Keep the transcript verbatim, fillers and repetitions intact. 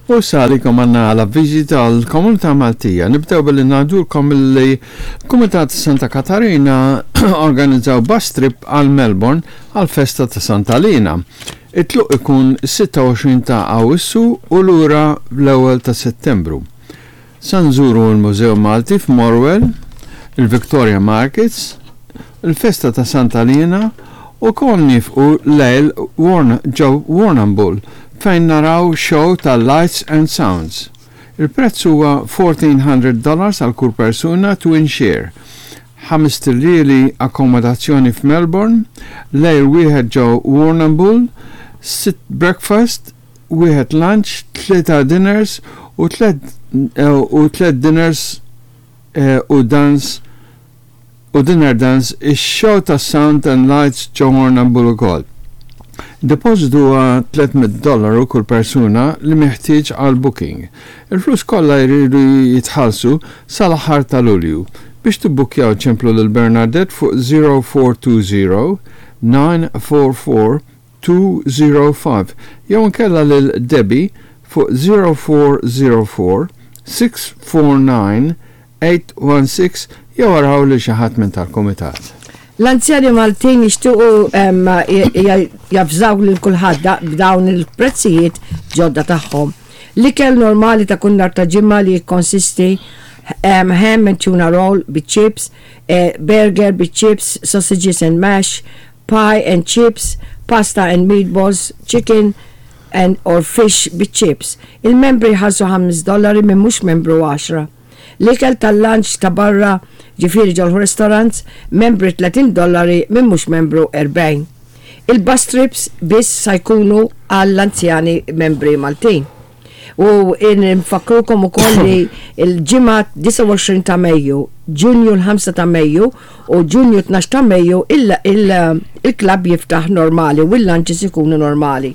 U salikom għandna l-avviżi tal-Komunità Maltija. Nibdew billi ngħidulkom li Kumitat Santa Katarina organizzaw bus trip għal Melbourne għal festa ta' Santa Lina. It-tluq ikun sitta u għoxrin ta' Awissu u lura l-ewwel ta' Settembru. Sa nżuru l-Mużew Malti f'Morwell, il-Victoria Markets, il-festa ta' Santa Lina u kon nieqfu lejl ġo Warrnambool fejn naraw show ta' Lights and Sounds. Il-prezz huwa fourteen hundred dollars għal kull persuna twin share. Ħamest iljieli akkomodazzjoni f'Melbourne, lejl wieħed ġo Warrnambool, sitt breakfast, wieħed lunch, tlieta dinners u tliet u tliet dinners eh, u dance u dinner dance, ix-show ta' Sound and Lights ġo Warrnambool ukoll. Depositu huwa tliet mitt dollaru kull persuna li meħtieġ għal booking. Il-flus kollha jridu jitħallsu sal-aħħar ta' Lulju. Biex tibbukkjaw, ċemplu lil Bernadette fuq zero four two zero nine four four two zero five jew nkella lil Debbie fuq zero four zero four six four nine eight one six jew araw li xi ħadd minn tal-kumitat. L-anzjani Maltin jixtiequ em, javżaw lil kulħadd b'dawn il-prezzijiet ġodda tagħhom. L-ikel normali ta' kull nhar ta' Ġimgħa li jikkonsisti em, ham and tuna roll bi chips, eh, burger bi chips, sausages and mash, pie and chips, pasta and meatballs, chicken and or fish bi chips. Il-membri jħallsu ħames dollari, minn mhux membru għaxra. L-ikel tal-lunch ta' barra, ġifieri ġol restaurants, membri tletin dollari, minn mhux membru erbgħin. Il-bus trips biss sa jkunu għall-anzjani membri Maltin. U nfakkrukom ukoll li il-ġimgħa disgħa u għoxrin ta' Mejju, Ġunju l-ħamsa ta' Mejju u Ġunju tnax ta' Mejju il-klabb jiftaħ normali u l-lunches ikunu normali.